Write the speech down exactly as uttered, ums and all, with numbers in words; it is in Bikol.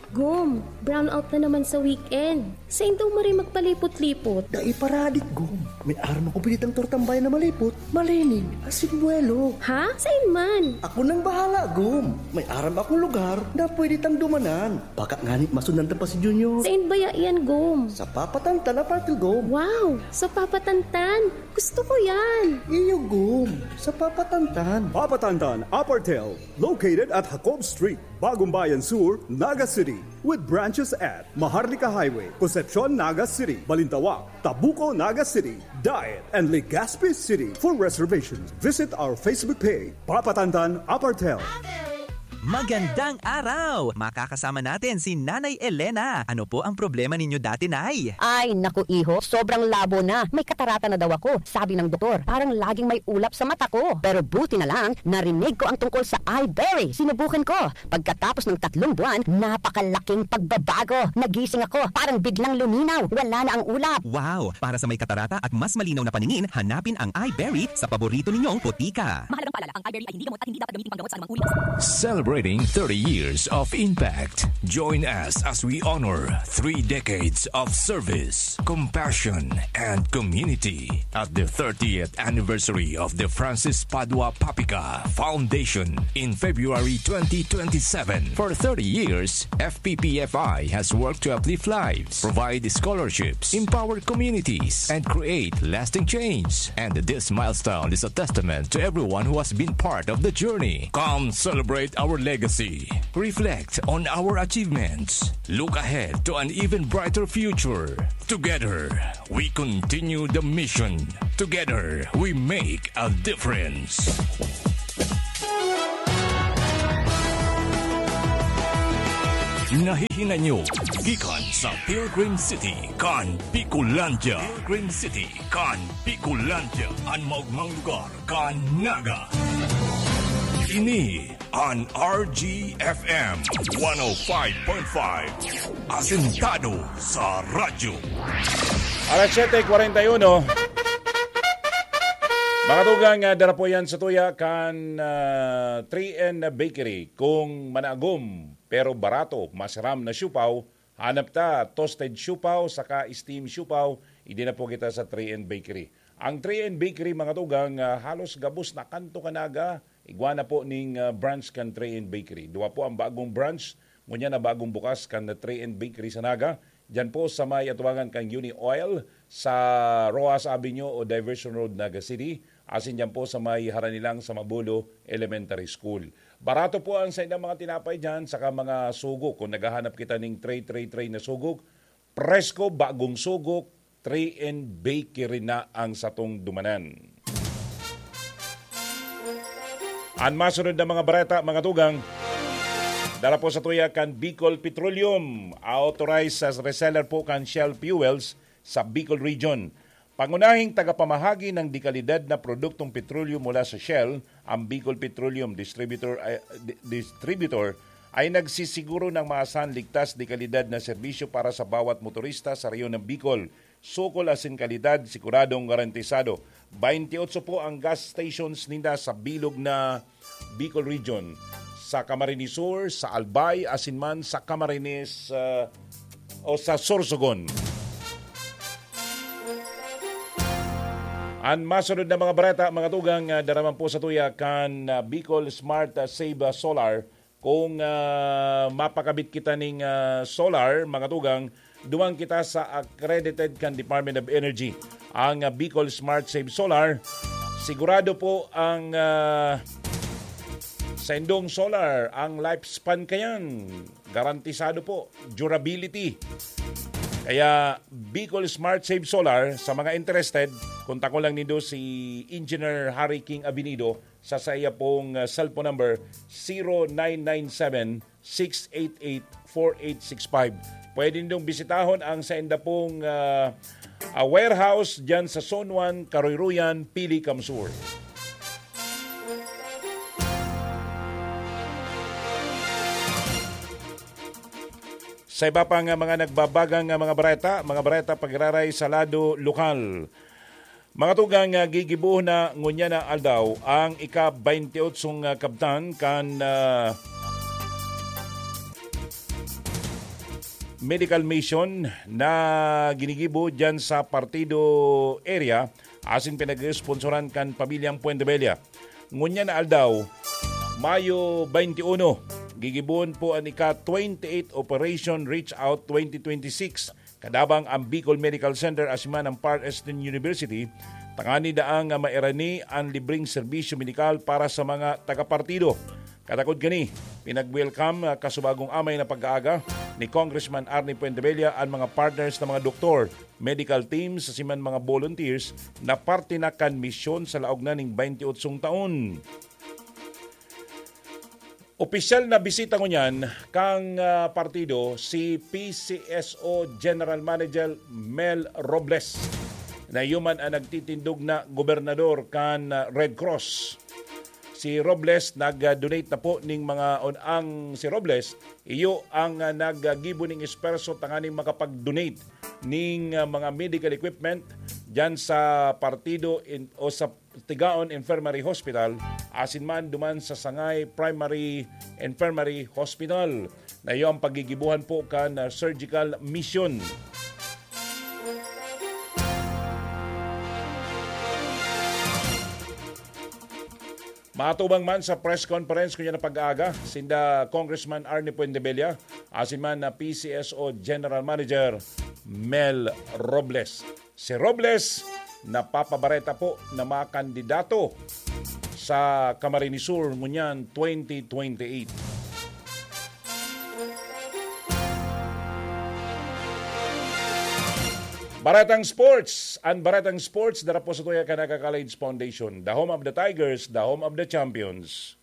Gom, brownout na naman sa weekend. Sain daw maray magpalipot-lipot? Dai paradik, Gom. May aram ako pinitang tortang bayan na malipot, malinig, asin buwelo. Ha? Sain man? Ako nang bahala, Gom. May aram akong lugar na pwede tang dumanan. Baka ngani masundan ta pa si Junior. Sain baya iyan, Gom? Sa Papa Tantan, Apartel, Gom. Wow! Sa Papa Tantan? Gusto ko yan! Iyo, Gom. Sa Papa Tantan. Papa Tantan, Apartel, located at Jacob Street, Bagong Bayan Sur, Naga City. With branches at Maharlika Highway, Concepcion, Naga City, Balintawak, Tabuco, Naga City, Daet, and Legazpi City. For reservations, visit our Facebook page, Papa Tantan Apartel. Magandang araw! Makakasama natin si Nanay Elena. Ano po ang problema ninyo dati, Nay? Ay, naku, iho, sobrang labo na. May katarata na daw ako, sabi ng doktor. Parang laging may ulap sa mata ko. Pero buti na lang, narinig ko ang tungkol sa Iberry. Sinubukan ko. Pagkatapos ng tatlong buwan, napakalaking pagbabago. Nagising ako, parang biglang luminaw. Wala na ang ulap. Wow! Para sa may katarata at mas malinaw na paningin, hanapin ang Iberry sa paborito ninyong botika. Mahalagang paalala, ang Iberry ay hindi gamot at hindi dapat gamitin panggamot sa anumang uri. Celebrating thirty years of impact. Join us as we honor three decades of service, compassion, and community at the thirtieth anniversary of the Francis Padua Papica Foundation in February twenty twenty-seven. For thirty years, F P P F I has worked to uplift lives, provide scholarships, empower communities, and create lasting change. And this milestone is a testament to everyone who has been part of the journey. Come celebrate our legacy. Reflect on our achievements. Look ahead to an even brighter future. Together, we continue the mission. Together, we make a difference. Nahihinay nyo gikan sa Pilgrim City kan Bicolandia. Pilgrim City kan Bicolandia, an maogmang lugar kan Naga. Ini an R G F M one oh five point five. Asentado sa radyo. Alas siyete cuarenta y uno. Mga tugang, ah, dara po yan sa tuya kan, ah, three N Bakery. Kung managom, pero barato, masiram na siopao, hanap ta, toasted siopao, saka steam siopao, idi na po kita sa three N Bakery. Ang three N Bakery, mga tugang, ah, halos gabos na kanto kan Naga, igwa na po ning, ah, branch kan three N Bakery. Duwa po ang bagong branch, ngunyan na bagong bukas kan three N Bakery sa Naga. Diyan po sa may atubangan kan Uni Oil, sa Roxas Avenue o Diversion Road, Naga City. Asin diyan po sa may harani lang sa Mabulo Elementary School. Barato po ang saindang mga tinapay diyan, saka mga sugo. Kung naghahanap kita ning tray, tray, tray na sugo, presko, bagong sugo, three N Bakery na ang satong dumanan. Ang masunod na mga bareta, mga tugang, dara po sa tuya kan Bicol Petroleum, authorized sa reseller po kan Shell Fuels sa Bicol Region. Pangunahing tagapamahagi ng dekalidad na produktong petrolyo mula sa Shell, ang Bicol Petroleum Distributor, ay, di-, Distributor, ay nagsisiguro ng maasahan, ligtas, dekalidad na serbisyo para sa bawat motorista sa rehiyon ng Bicol. Sukol asin kalidad, siguradong garantisado. Bainti otso po ang gas stations ninda sa bilog na Bicol Region, sa Camarines Sur, sa Albay, asin man sa Camarines, ah, o sa Sorsogon. Ang masunod na mga bareta, mga tugang, ah, dara man po sa tuya kan, ah, Bicol Smart, ah, Save, ah, Solar. Kung, ah, mapakabit kita ning, ah, solar, mga tugang, duman kita sa accredited kan Department of Energy, ang, ah, Bicol Smart Save Solar. Sigurado po ang, ah, saindong solar, ang lifespan kayan, garantisado po, durability. Kaya Bicol Smart Save Solar, sa mga interested, kontakon lang nindo si Engineer Harry King Abinido sa saiya pong, ah, cellphone number, zero nine nine seven, six eight eight, four eight six five. Pwede nindong bisitahon ang sainda pong, ah, ah, warehouse diyan sa Zone one, Karoyroyan, Pili, CamSur. Sa iba pang, ah, mga nagbabagang, ah, mga bareta, mga bareta pag-iraray sa lado lokal. Mga tugang, ah, gigibohon na ngunyan na aldaw ang ika-baynte otsong, ah, kabtan kan, ah, medical mission na ginigibo dyan sa Partido area asin pinag-responsoran kan pamilyang Puentebella. Ngunyan na aldaw, Mayo twenty-one, gigibon po an ika twenty-eight Operation Reach Out twenty twenty-six. Kadabang ang Bicol Medical Center asin man ang Far Eastern University, tangani daang mairani an libreng serbisyo medikal para sa mga taga-partido. Katakod kani, pinag-welcome, ah, kasubagong amay na pag-aaga ni Congressman Arnie Puentebella an mga partners na mga doktor, medical teams, asin man mga volunteers na parte na kan misyon sa laog na ning twenty-eight taon. Opisyal na bisita ngunyan kan, ah, partido si P C S O General Manager Mel Robles, na iyo man ang nagtitindog na gobernador kan, ah, Red Cross. Si Robles nag-donate na po ning mga on-, ang si Robles, iyo ang, ah, naggibo ning esperso tanganing makapag-donate ning, ah, mga medical equipment diyan sa partido in, o sa Tigaon Infirmary Hospital, asin man duman sa Sangay Primary Infirmary Hospital, na iyo ang paggigibuhan po kan, ah, surgical mission. Matubang man sa press conference kunya na pag-aaga, sinda Congressman Arnie Puentebella, asin man na P C S O General Manager Mel Robles. Si Robles, napapabareta po na makandidato sa Camarines Sur ngunyan twenty twenty-eight. Baretang Sports. Ang Baretang Sports, dara po sa tuya kan Aga College Foundation. The home of the Tigers, the home of the champions.